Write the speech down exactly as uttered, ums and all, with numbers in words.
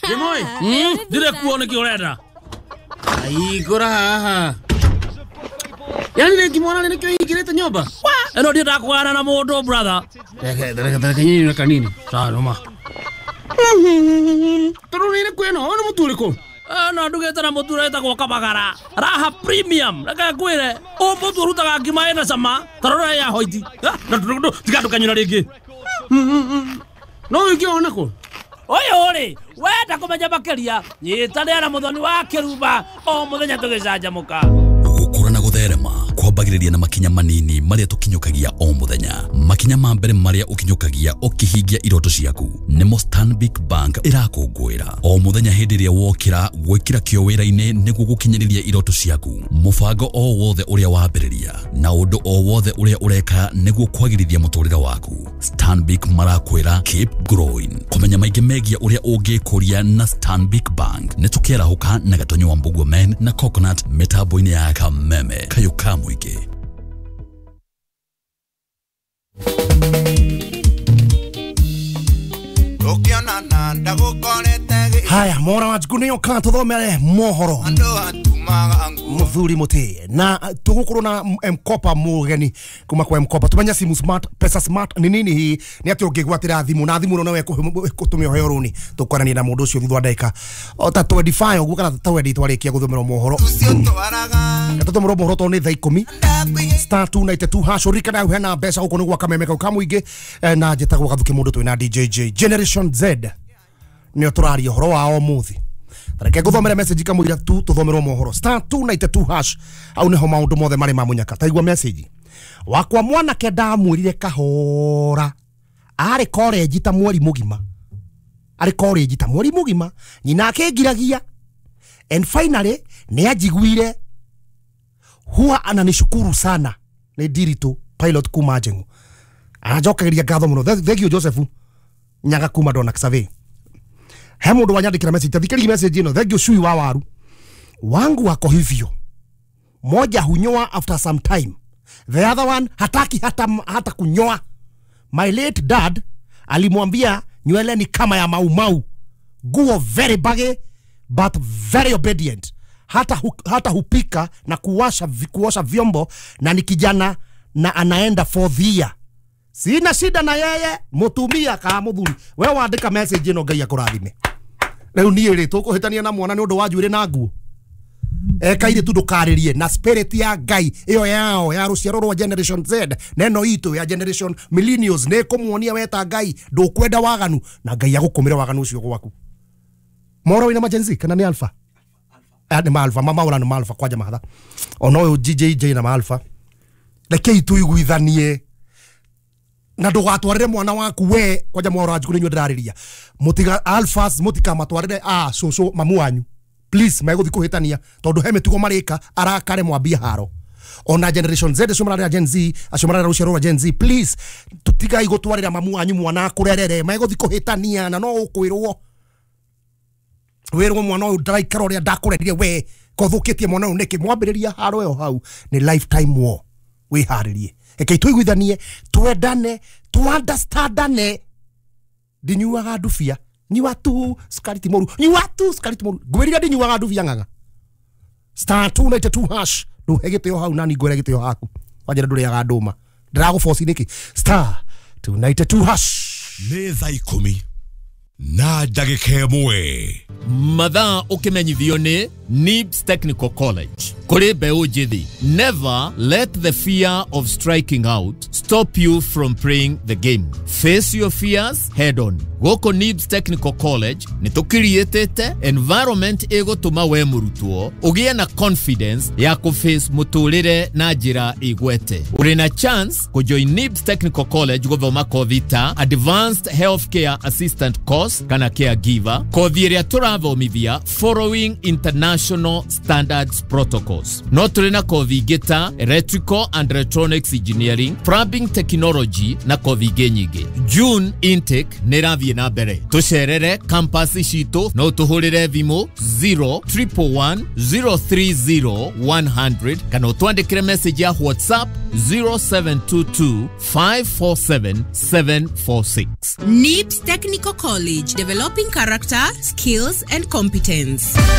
Jimoi, ndire kuo niki urenda. Aigora haha. Yani ni kimwana ni kio ingirite nyumba. Eno ndienda kugana na mundu brother. Reke reke reke nyinyi na kanini. Sawa noma. Toro ni kweno ono muturiko. No ndugite na mutura etagwo Kabagara. Raha premium. Reke ngwire, o mutu urutaga ngima ina cama, tarora ya hoiti. Na tiga ndukanyura ringi. No ukiona ko. Oyo ri, wenda kumenya makiria, nyitanĩra na Muthoni wa Kĩrumba o muthenya tũgĩcanjamũka. Gũkũra na gũtherema kwambagĩrĩria na makinya manini marĩa tũkinyũkagia o mũthenya. Makinya ma mbere marĩa ũkinyũkagia ũkĩhingia iroto ciaku nĩmo Stanbic Bank ĩrakũngũĩra o mũthenya hĩndĩ ĩrĩa wokĩra gwĩkĩra kĩo wĩra-inĩ nĩguo gũkinyĩrĩria iroto ciaku. Mũbango o wothe ũrĩa wambĩrĩria na ũndũ o wothe ũrĩa ũreka nĩguo kwagĩrithia mũtũrĩre waku, Stanbic marakwĩra keep growing. Kũmenya maingĩ megiĩ ũrĩa ũngĩkũria na Stanbic Bank nĩ tũkĩarahũka na Gatonyo wa Mbugua Men na Coconut mĩtambo-inĩ ya Kameme kayũ ka mũingĩ. Haya, mora wa njikuni yoka tuthomere mohoro muthuri muti na tugukorwo na M-Kopa mugeni kuma kwa M-Kopa tumenya simu smart, pesa smart ni nini hii ni ati ungigwatira thimu na thimu no ekutumia heo runi tukwarania na mundu ucio thutha wa ndagika o ta twenty-five uguo kana twenty twarikia guthomerwo mohoro tuthomerwo mohoro to ni thaa ikumi star two ninety-two hash urikana hena mbeca guku ni gwa Kameme kau ka muingi na njitagwo Gathuki mundu twina D J J Generation Z nio turaria horo wa umuthi. Reke nguthomere message kamũira tu tuthomerwo mohoro star two ninety-two hash au niho maundu mothe mari ma munyaka. Taigua message wakwa mwanake ndamwirire kahora ari college ta mweri mugima ari college ta mweri mugima nyina akingiragia and finally ni anjiguire huwa ananishukuru sana. Ni Ndiritu pilot kuma Njengu aranjokagiria ngatho muno. Thank you Joseph Nyaga kuma Dona Xavier. He mundu wanyandikira message tathikiri message ino. Thank you shui wa waru wangu wako hivyo, moja hunyoa after some time, the other one hataki hata, hata kunyoa. My late dad alimwambia nywele ni kama ya maumau, guo very baggy but very obedient, hata, hu, hata hupika na kuwasha, kuosha vyombo na ni kijana na anaenda for the year. Sina shida na yeye mutumia ka muthuri. We wandika message ino Ngai akurathime. Riu nie ri tukuhitania na mwana ni undu wa njuire na nguo ekaire tu ndukaririe na spirit ya Ngai iyo yao ya ruciaro rwa Generation Z neno itu ya Generation Millennials ni kumuonia weta Ngai ndukwenda waganu na Ngai agukumira waganu ucio gwaku. Moro wina Gen Z kana ni Alpha? Ah, ni Alpha mama ura ni Alpha kwanja mahatha ono uyu G J J na Alpha. Rekei tuiguithanie na ndugatwarire mwana waku we kwanja mworo anjukuru inyuĩ ndĩrarĩria mutiga alphas mutikamatwarire a cucu mamu wanyu please meguthi kuhitania tondu he mitugo marika arakare mwambie haro ona Generation Z acio mararĩra Gen Z acio mararĩra rũciaro rwa Gen Z please tutigai gutwarira mamu wanyu mwana akurerere meguthi kuhitania na no ukwirwo wirwo mwana uyu ndaraikara uria ndakurerire we kothukitie mwana uyu niki mwambiriria haro yo hau ni lifetime war wiharirie. Eke tuiguithanie twendane tu-understandane. Ndinyuaga ndubia nyua tu sukari ti moru nyua tu sukari ti moru ngwirire ndinyuaga ndubia ng'ang'a star two ninety-two hash nduhe gitio hau nani ngwire gitio haku wanjira nduriaga nduma ndiraguboci niki star two ninety-two hash. Nĩ thaa ikũmi na ndagĩka ĩmwe. Mathaa ũkĩmenyithio nĩ Nibs Technical College. Kũrĩ mbeũ njĩthĩ, never let the fear of striking out stop you from playing the game. Face your fears head on. Gũkũ Nibs Technical College nĩ tũkiriĩtĩte environment ĩgũtũma we mũrutwo ũgĩe na confidence ya kũface mũtũrĩre na njĩra ĩgwete. Ũrĩ na chance kũjoin Nibs Technical College gũthoma kothi ta Advanced Healthcare Assistant Course kana Caregiver, kothi ĩrĩa tũrathomithia following international standards protocols. No tũrĩ na kothi ingĩ ta Electrical and Electronics Engineering, Plumbing Technology na kothi ingĩ nyingĩ. June intake nĩ ĩrathiĩ na mbere. Tũcerere campus citũ no tũhũrĩre thimũ zero triple one zero three zero one hundred kana ũtwandĩkĩre message ya WhatsApp zero seven two two five four seven seven four six. N I B S Technical College, developing character, skills and competence.